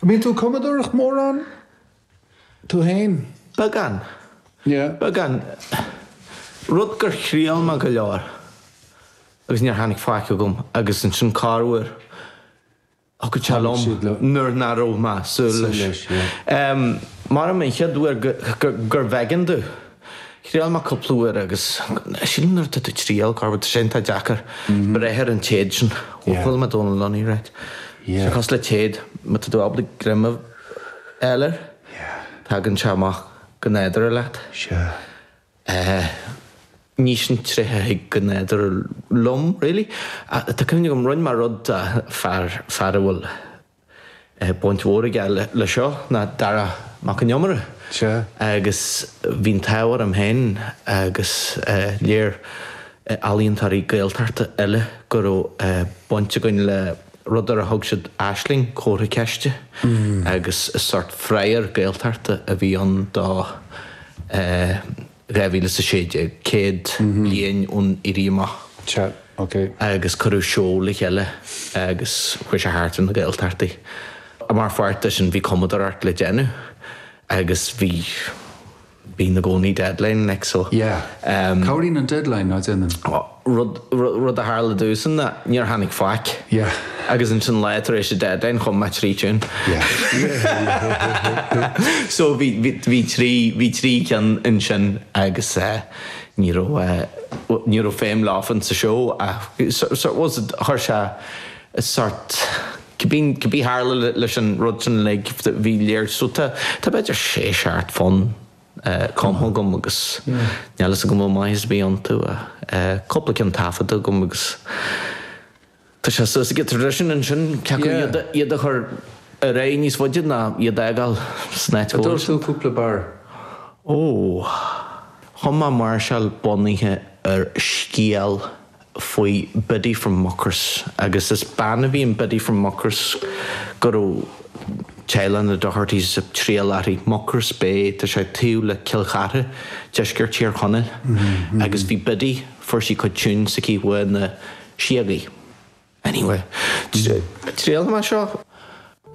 An mbíonn tú ag cumadóireacht mórán tú féin? Beagán. Yeah. Beagán. Rud gur thriail mé go leor agus níor tháinig faic agam agus ansin corruair Thiocfadh sé liom nuair nach raibh mé ag súil leis. Maram an chéad uair gurbh éigean domh. Thriail mé cúpla uair agus sílim nuair atá tú ag triail, corruair tá sé iontach deacair breith ar an téad sin. Ó chuala mé Dónal Lunny right. Tá sé cosúil le téad, má tá tú ábalta greim a fháil air, tagann sé amach go nádúrtha leat. Ní sin tréith a thig go nádúrtha liom, really. Tá cuimhne agam, rinne mé rud do fear, fear a bhfuil baint mhór aige le seo, ná Dara Mac Con Iomaire. Sea. Agus bhí an t-ádh orm féin agus léir ealaíontóirí Gaeltachta eile go raibh baint againn le rud ar a thug siad Aisling, comhartha ceiste, agus is sórt fragher Gaeltachta a bhí ann do 2016, 100 bliain ón Éirí Amach. Sea, ok. Agus cuireadh seó le chéile agus chuaigh sé thart ar na Gaeltachtaí. Mar pháirt de sin bhí cumadóireacht le déanamh agus bhí. Bíonn i gcónaí deadline like so. Yeah. Cabhraíonn an deadline, ná déanann? Rud, rud a tharla domhsa ná níor tháinig faic. Yeah. Agus ansin lá tar éis an deadline chum mé trí tune. Yeah. So bhí, bhí, bhí trí, bhí trí cheann ansin agus eh ní raibh eh, ní raibh feidhm leofa sa seó ach so, so was it, chuir sé sort, Cibé cibé tharla leis an rud sin uilig, bhí léir so tá tá b'fhéidir sé seacht fonn cumtha agam agus níl fhios agam an bhfuil maitheas ar bith iontu ach cúpla ceann taifeadta agam agus tá sé suas ag traidisiún ansin cé acu iad iad a chur ar aghaidh níos faide ná iad a fhágáil san áit An dtabharfaidh tú cúpla barr? Ó, chum mé máirseáil bunaithe ar scéal faoi Biddy from Mucross agus is bean a bhí in Biddy from Mucross go raibh teaghlach na Dohertys ag triall uirthi, Mucross Bay, tá sé taobh le Cill Chartha, deisceart Thír Chonaill, agus bhí Biddy, fuair sí cuid tune s'aici uaidh na síogaí. Anyway, triailfidh mé seo.